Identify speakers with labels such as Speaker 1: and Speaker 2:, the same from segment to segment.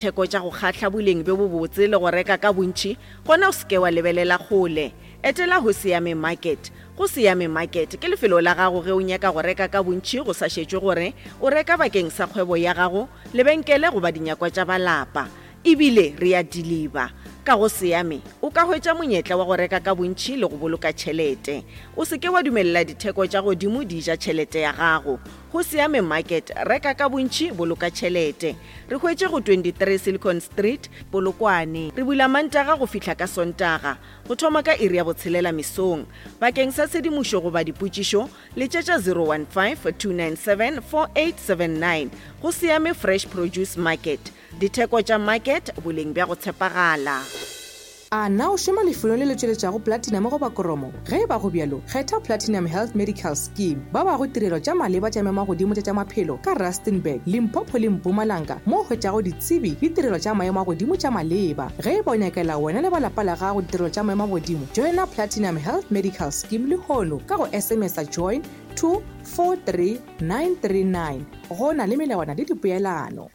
Speaker 1: Theko tša go kgahla boleng bjo bobotse le go reka ka bontši, gona o se ke wa lebelela kgole. Etela Hosiame Market. Go Siame Market ke lefelo la gago ge o nyaka go reka ka bontši go sa šetšwe gore o reka bakeng sa kgwebo ya gago, lebenkele goba dinyakwa tša ba lapa. E bile re a diliba. Ka go Siame, o ka hwetša monyetla wa go reka ka bontši le go boloka tšhelete. O se ke wa dumelela ditheko tša godimo di ja tšhelete ya gago. Go Siame Market, reka ka bontši, boloka tšhelete. Re hwetše go 23 Silicon Street, Polokwane. Re bula Mantaga go fihla ka Sontaga, go thoma ka iri ya botshelela mesong. Bakeng sa tshedimošo goba dipotšišo, letšetša 015-297-4879. Go Siame Fresh Produce Market. Ditheko tša market, boleng bja go tshepagala.
Speaker 2: A na o šoma lefelong le le tšweletšago platinum goba koromo? Ge e ba go bjalo, kgetha Platinum Health Medical Scheme. Ba bago tirelo tša maleba tša maemagodimo tša tša maphelo ka Rustenburg, Limpopo le Mpumalanga mo o hwetšago ditsebi le tirelo tša maemo a godimo tša maleba. Ge e ba o nyakela wena le ba lapa la gago ditirelo tša maemo a godimo, joina Platinum Health Medical Scheme lehono ka go SMS-a join to 43939. Go na le melawana le dipoelano.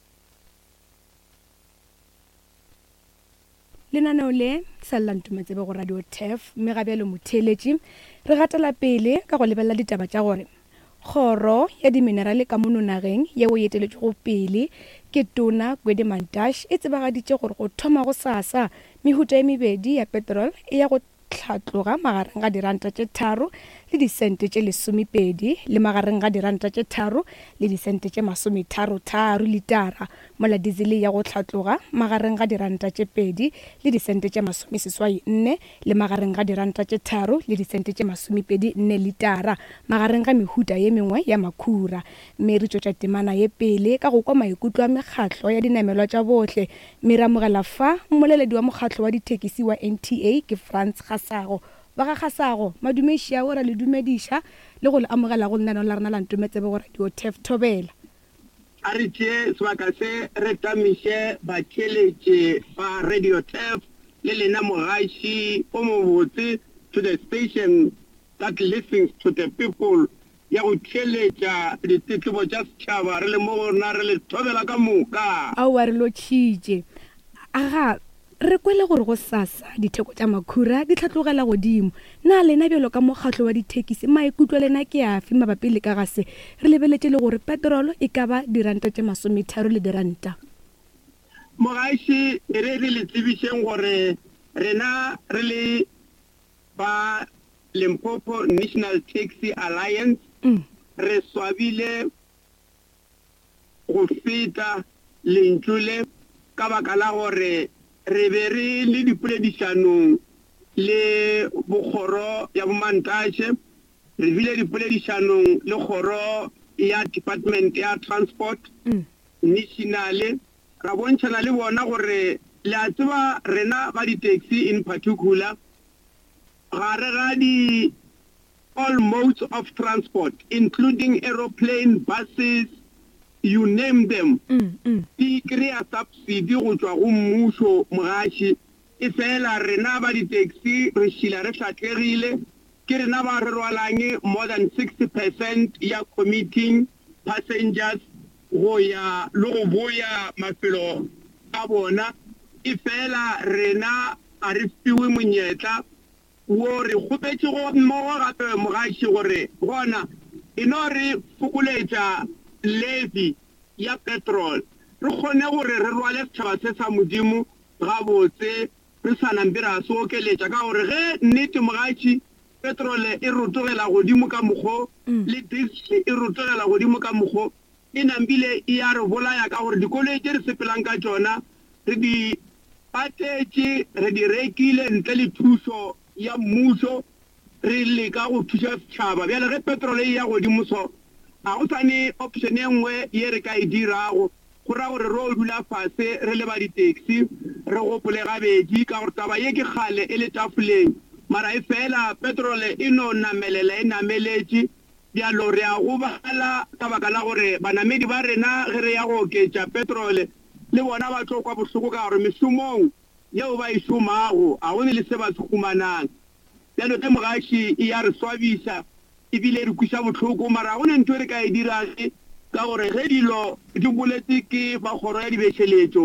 Speaker 3: Lenaneo le sa lla ntumatsebe go Radio Turf mme ga bjalo motheeletši re gatela pele ka go lebelela ditaba tša gore Kgoro ya Diminerale ka mono nageng yeo e eteletšwego pele ke Tona Gwede Mantashe e tsebagaditše gore go thoma gosasa mehuta e mebedi ya petrol e ya go hlatloga magareng ga diranta tše tharo le disente tše lesomepedi le magareng ga diranta tše tharo le disente tše masometharotharo litara, mola dizele ya go hlatloga magareng ga diranta tše pedi le disente tše masomeseswai nne le magareng ga diranta tše tharo le disente tše masomepedi nne litara, magareng ga mehuta ye mengwe ya makhura. Mme re tšwetša temana ye pele ka go kwa maikutlo a mekgatlo ya dinamelwa tša bohle Mme re amogela fa mmoleledi wa mokgatlo wa dithekisi wa NTA ke Frans Kgasago. Ba ga Kgasago, madume šiao ra le dumediša le go le amogela go lenaneo la rena la Ntometsebe go Radio Turf Thobela.
Speaker 4: A re tšee sebaka se re tamiše batheeletši ba Radio Turf le lena mogaši o mobotse to the station that listens to the people ya go theeletša ditletlebo tša setšhaba re le mo go rena re le thobela ka moka.
Speaker 3: Aowa re lotšhitše. Aga, re kwele gore gosasa ditheko tša makhura di hlatlogela godimo. Na lena bjalo ka mokgatlo wa dithekisi maikutlo a lena ke afe mabapi le ka ga se? Re lebeletše le gore petrolo e ka ba diranta tše masometharo le diranta.
Speaker 4: Mogaši, e re re le tsebišeng gore rena re le Ba Limpopo National Taxi Alliance re swabile go feta lentšu le ka baka la gore re be re le dipoledišanong le bokgoro ya boMantashe, re bile dipoledišanong le kgoro ya Department ya Transport National, ra bontšhana le bona gore le a tseba rena ba di-taxi in particular Gare ga di all modes of transport including aeroplane, buses, you name them, di kry-a subsidy go tšwa go mmušo mogaši. Efela rena ba di-taxi re šila re hlatlegile, ke rena ba re rwalang more than 60 percent ya commuting passengers go ya le go boya mafelo a bona. Efela rena Ga re fiwe monyetla wo. Re kgopetše go mmogo gape mogaši gore gona e no re fokoletša levy ya petrol re kgone gore re rwale setšhaba se sa Modimo gabotse re sa nampe ra se okeletša ka gore ge nnete mogaši petrol e rotogela godimo ka mokgo le diesel e rotogela godimo ka mokgo e nampile e a re bolaya ka gore dikoloi tše re sepelang ka tšona re di patetše, re di rekile ntle le thušo ya mmušo, re leka go thuša setšhaba. Bjale ge petrol e eya godimo so, ga go sa ne option e nngwe ye re ka e dirago. Go ra gore ro dula fase re le ba di-taxi re gopole gabedi ka gore taba ye ke kgale e le tafoleng mara efela petrol e no namelela e nameletše. Bjalo re a gobala ka baka la gore banamedi ba rena ge re ya go oketša petrole le bona ba tlo kwa bohloko ka gore mešomong yeo ba e šomago ga go ne le se ba se humanang. Bjalo ge mogaši e ya re swabiša e bile e re kweša bohloko mara ga go ne ntho e re ka e dirang. Ka gore ge dilo di boletše ke ba kgoro ya dibešeletšo,